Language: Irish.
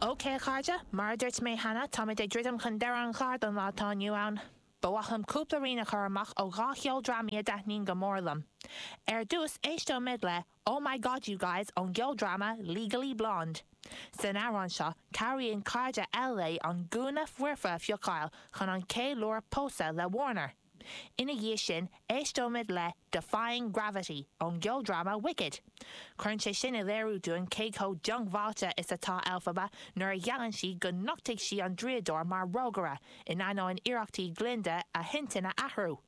OK, a chairde, mar a dúirt mé cheana, táimid ag druidim chun deireadh an chláir don lá atá inniu ann. Ba mhaith liom cúpla rian a chur amach ó dhá cheoldrámaí a dtaitníonn go mór liom. Ar dtús, éisteoimid le Oh My God You Guys ón gceoldráma Legally Blonde. San amhrán seo, cabhraíonn cairde Elle léi an gúna foirfe a phiocáil chun an ceiliúradh pósadh le Warner. Ina dhiaidh sin, éisteoimid le Defying Gravity ón gceoldráma Wicked. Cuireann sé sin i léiriú dúinn cé chomh diongbháilte is atá Elphaba nuair a gheallann sí go nochtfaidh sí an draíodóir mar rógaire, in ainneoin iarrachtaí Glinda a hintinn a athrú.